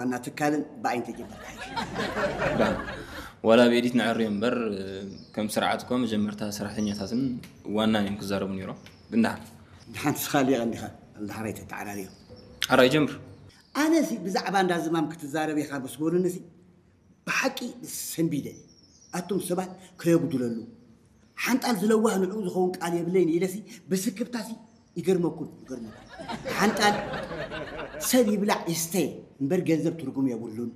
ዋና ትካልን ብኣይን ተጀመርካ ሓይሽ። ዋላ ብኤዲት ንዕርዮ እምበር ከም ስርዓት እኮ መጀመርታ ሰራሕተኛታትን ዋናን እዮም ክዛረቡ ነይሮም። ግን ደሓን ድሓን ስኻ ሊቐ እንዲኻ ዳሕራይ ተተዓራርዮ። ኣራይ ጀምር። ኣነ ሲ ብዛዕባ እንዳ ዝማም ክትዛረብ ኢኻ ምስ በሉኒ ሲ ብሓቂ ሰንቢደ። ኣቱም ሰባት ከየጉድለሉ ሓንጣል ዝለዋህ ንዕኡ ዝኸውን ቃል የብለይን ኢለሲ ብስክብታሲ ይገርመኩም ይገርመኩም። ሓንጣል ሰብ ይብላዕ ይስተ እምበር ገንዘብ ትርጉም የብሉን።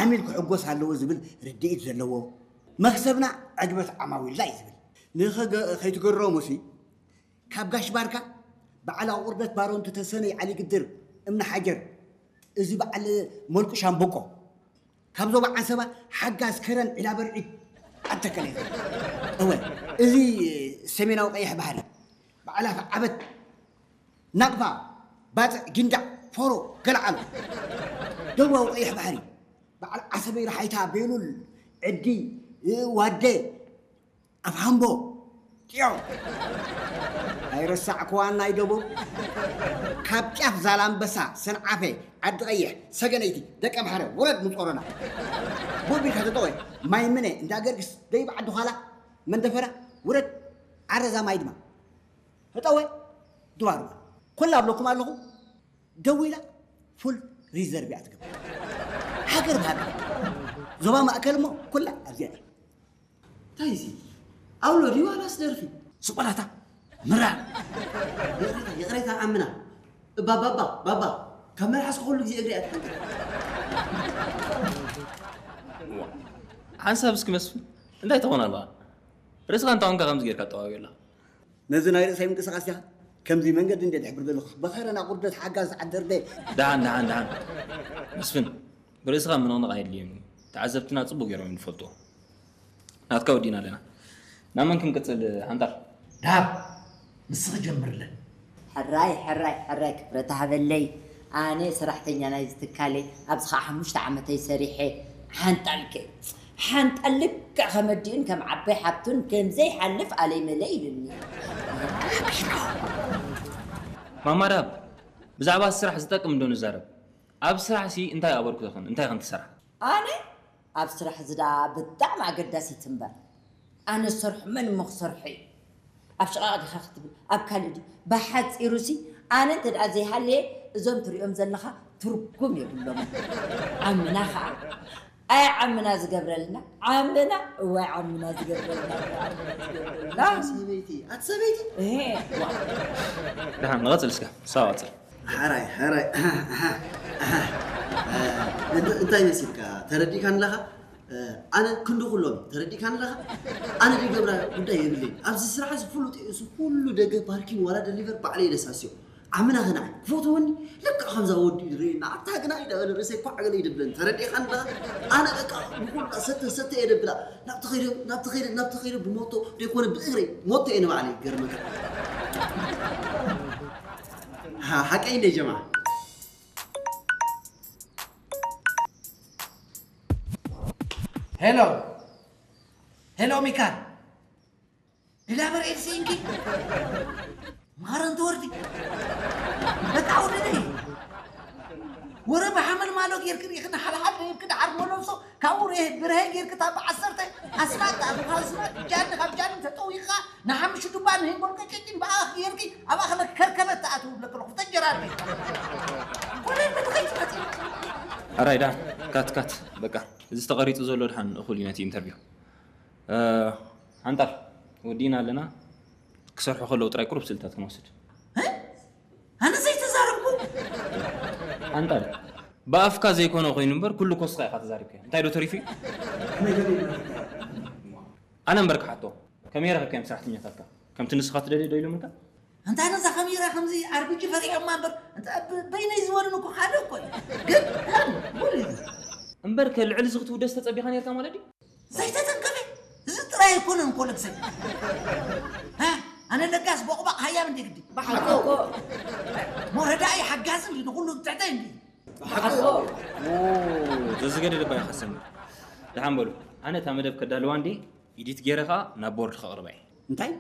ዓሚል ክሕጎስ ኣለዎ ዝብል ርድኢት ዘለዎ መክሰብና ዕግበት ዓማዊልና እዩ ዝብል። ንኸይትገረሙ ሲ ካብ ጋሽ ባርካ በዓል ኣቑርደት ባሮን ተሰነይ ዓሊ ግድር እምኒ ሓጀር እዚ በዓል መልቁ ሻምበቆ ካብ ዞባ ዓንሰባ ሓጋዝ ከረን ዒላ በርዒድ ኣተከለ እወ እዚ ሰሜናዊ ቀይሕ ባህሪ በዓል ኣፍ ዓበት ናቕፋ ባፅዕ ጊንዳዕ ፎሮ ገለዓሎ ደቡባዊ ቀይሕ ባህሪ በዓል ዓሰበይ ረሓይታ ቤሉል ዕዲ ዋደ ኣፍ ሃምቦ ጢዮ ኣይረሳዕክዋን ናይ ደቡብ ካብ ጫፍ ዛላምበሳ ሰንዓፈ ዓዲ ቀይሕ ሰገነይቲ ደቀምሓረ ውረድ ምጾሮና ቦቢልካ ተጠወ ማይ ምነ እንዳ ገርግስ ደይብ ዓዲ ኋላ መንደፈራ ውረድ ዓረዛ ማይ ድማ ህጠወ ድባርባ ኩላ ኣብለኩም ኣለኹ ደዊላ ፉል ሪዘርቭ እያ ትገብር ሃገር ብሃገር ዞባ ማእከል እሞ ኩላ ኣብዚኣ እያ እንታይ እዚ ኣውሎ ድዩ ዋላስ ደርፊ ስቆላታ ምራ ይቕሬታ ይቕሬታ ዓምና ባባባ ባባ ካብ መልሓስ ክኹሉ ግዜ እግሪ እያ ትሓንቀ ሓንሳብ እስኪ መስፍን እንታይ ትኾን ኣለኻ ርእስኻ እንታይ ኮንካ ከምዚ ጌርካ ጠዋዊ ኣለኻ ነዚ ናይ ርእሰይ ምንቅስቃስ ዲኻ ከምዚ መንገዲ እንደ ድሕብር ዘለኹ በኸረና ቁርደት ሓጋዝ ዓደርደ ደሓን ደሓን ደሓን መስፍን ብርእስኻ ምንቕንቕ ኣየድልዮም እዩ ተዓዘብትና ፅቡቅ ገይሮም ዝፈልጥዎ ናትካ ወዲና ኣለና ናብ መን ክንቅፅል ሓንጣር ዳብ ንስኺ ጀምርለን ሕራይ ሕራይ ሕራይ ክብረት ሃበለይ ኣነ ሰራሕተኛ ናይ ዝትካለይ ኣብዚ ከዓ ሓሙሽተ ዓመተይ ሰሪሐ ሓንጣልከ ሓንጣል ልክዕ ከመዲኡን ከም ዓባይ ሓብቱን ከም ዘይሓልፍ ኣለይ መለይ ኢሉኒ ማማ ዳብ ብዛዕባ ስራሕ ዝጠቅም እንዶ ንዛረብ ኣብ ስራሕ ሲ እንታይ ኣበርክቶኽን እንታይ ከም ትሰርሓ ኣነ ኣብ ስራሕ ዝዳ ብጣዕሚ ኣገዳሲት እምበር ኣነ ዝሰርሖ መን እሞ ክሰርሖ እዩ ኣብ ሽቓቕ ዲኻ ክትብል ኣብ ካልእ ድዩ ብሓፂሩ ሲ ኣነ እንተ ደኣ ዘይሃለየ እዞም ትሪኦም ዘለኻ ትርጉም የብሎም ዓምና ኸዓ ኣይ ዓምና ዝገብረልና ዓምና እዋይ ዓምና ዝገብረልና እዋይ ዓምና ዝገብረልና ሰበይቲ ኣቲ ሰበይቲ እሄ ደሓን ንቐፅል እስከ ሳዋ ቀፅል ሓራይ ሓራይ እንታይ መሲልካ ተረዲእካ ኣለኻ ኣነ ክንዲ ኩሎም ተረዲእካ ኣለኻ ኣነ ደገብራ ጉዳይ የብለይ ኣብዚ ስራሕ እዚ ፍሉጥ እዩ እዚ ኩሉ ደገ ፓርኪን ዋላ ደሊቨር ባዕለይ ደሳስዮ ዓምና ኸናዕ ክፈትወኒ ልክዕ ከምዛ ወዲ ድሬና ኣታ ግና ኢዳ በለ ርእሰይ ኳዕ ገለ ይደብለኒ ተረዲእካ ኣለኻ ኣነ በቃ ንኩላ ሰተ ሰተ እየ ደብላ ናብቲ ኸይደ ናብቲ ኸይደ ናብቲ ኸይደ ብሞቶ ደይኮነ ብእግረይ ሞቶ እየ ንባዕለይ ገርመካ ሓቀይ እንደ ጀማ ሄሎ ሄሎ ሚካል ዲላበር ኤልሲ እንኪ ማረንቲ ወርዲ በቃ ውድድሪ ወረ ብሓመል ማሎ ጌርክ ሪእክና ሓልሓል ደይብክ ደሓር መለብሶ ካብኡ ብርሀ ጌርክ እታ ብዓሰርተ ኣስማት ኣስማት ጃኒ ካብ ጃኒ ተጠዊቕካ ንሓምሹ ዱባ ንሂንጎል ቀጨጭን ብኣኽ ጌርኪ ኣብ ኣኽለ ከርከበት ተኣትው ብለክ ኣለኹ ተጀራርቢ ኮነ ምንኸይ ትመጽእ ኣራይ ዳን ካት ካት በቃ እዚ ተቐሪጹ ዘሎ ድሓን እኹል እዩ ነቲ ኢንተርቪው ሓንጣር ወዲእና ኣለና ክሰርሑ ከለዉ ጥራይ ቁሩብ ስእልታት ክንወስድ ኣነ ዘይተዛረብኩ ሓንጣር ብኣፍካ ዘይኮነ ኮይኑ እምበር ኩሉ ኮስኻ ኢኻ ተዛሪብካ እንታይ ዶ ተሪፉ ኣነ እምበር ክሓቶ ከመይ ረኸብካዮም ሰራሕተኛታትካ ከምቲ ንስኻ ትደልዮ ዶ ኢሎምልካ እንታይ ነዛ ከሚራ ከምዚ ኣርቢጂ ፈሪሖማ እምበር በይነይ ዝበሉን እኮ ሓደ እኮ እዩ ግን ሙሉ እዩ እምበር ከልዕል እዚ ክትውደስ ተጸቢኻ ነርካ ማለት ድዩ ዘይተተንከፈ እዚ ጥራይ ኣይኮነን እኮ ልግሰይ ኣነ ለጋስ ቦቕባቕ ሃያም እንደ ግዲ ብሓቂ እኮ ሞረዳኢ ሓጋዚ እንዲ ንኩሉ ትሕተይ እንዲ ዘዝገደደ ባይ ከሰምር ደሓን በሉ ኣነ እታ መደብ ከዳልዋ እንዴ ኢዲት ገይረ ኸዓ ናብ ቦርድ ከቕርባ እየ እንታይ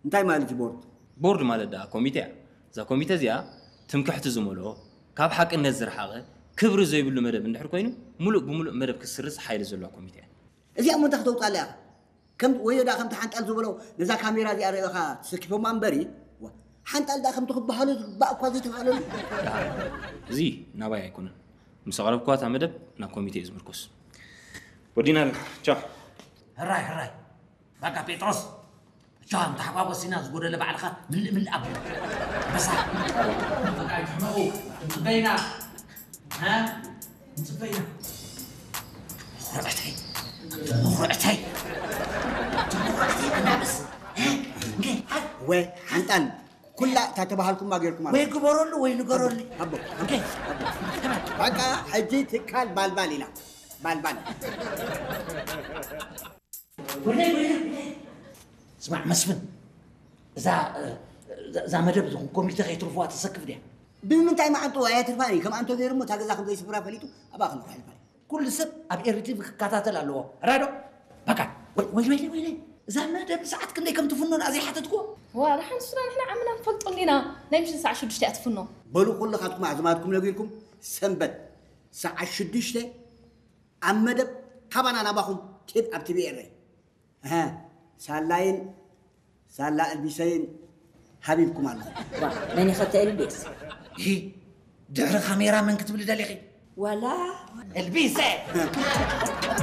እንታይ ማለት እዩ ቦርድ ቦርድ ማለት ደኣ ኮሚተ እያ እዛ ኮሚተ እዚኣ ትምክሕቲ ዝመልኦ ካብ ሓቅነት ዝረሓቐ ክብሪ ዘይብሉ መደብ እንድሕር ኮይኑ፣ ሙሉእ ብሙሉእ መደብ ክትስርዝ ሓይሊ ዘለዋ ኮሚቴ እያ። እዚኣ እሞ እንታይ ክተውፅኣላ ኢኻ? ከም ወዮ ደኣ ከምቲ ሓንጣል ዝበሎ ነዛ ካሜራ እዚኣ ርእኻ ተሰኪፎማ እምበሪ፣ ዋ፣ ሓንጣል ደኣ ከምቲ ክበሃሉ ዝግባእ እኳ ዘይተባህለሉ። እዚ ናባይ ኣይኮነን። ምስ ኣቕረብክዋ እታ መደብ ናብ ኮሚቴ እዩ ዝምርኮስ። ወዲና ኣለና። ቻው። ሕራይ ሕራይ። በቃ ጴጥሮስ፣ ቻው፣ እንተሓጓጎስ ኢና ዝጎደለ ባዕልኻ ምልእ ምልእ ኣብሎ። በሳ። በቃ ይሕመቑ። ጽበይና። ها؟ نصفينا. مخرعتي. مخرعتي. مخرعتي أنا بس. ها؟ نقول حد. ወይ ሓንጣል ኩላ እታ ተባሃልኩማ ጌርኩማ። ወይ ግበረሉ ወይ ንገረሉ። ኣቦ፣ ኣቦ፣ ኣቦ። በቃ ሕጂ ትካል ባልባል ኢና። ባልባል። ወይለይ፣ ወይለይ፣ ወይለይ። ስማዕ መስፍን፣ እዛ፣ እዛ፣ እዛ መደብ እዚኹም ኮሚቴ ከይትርፍዋ ተሰክፍ ድያ? ብምንታይ መዓንጥኡ ኣየትርፋን እዩ? ከም ኣንቶ ገይሩ እሞ እታ ገዛ ከም ዘይስፍራ ፈሊጡ ኣብኣ ክንረሕ ይፋል። ኩሉ ሰብ ኣብ ኤሪቲቪ ክከታተል ኣለዎ። ራዶ? በቃ፣ ወይ፣ ወይ፣ ወይ፣ ወይ፣ እዛ መደብ ሰዓት ክንደይ ከም ትፍኖ ንኣ ዘይሓተትክዎ? ዋ፣ ደሓን ንሱና ንሕና ዓምና ንፈልጦ እንዲና። ናይ ምሽት ሰዓት ሽዱሽተ እያ ትፍኖ። በሉ ኩልኻትኩም ኣዝማድኩም ነጊርኩም፣ ሰንበት ሰዓት ሽዱሽተ ኣብ መደብ ካባና ናባኹም ቴፕ ኣብ ቲቪ ኤረ። እሀ፣ ሳላይን ሳላ እልቢሰይን ሃቢብኩም ኣለኹም። ዋ፣ መን ይኸተ እልቢስ? ይሂ፣ ድሕሪ ካሜራ መን ክትብሊ ደሊኺ? ዋላ እልቢሰ!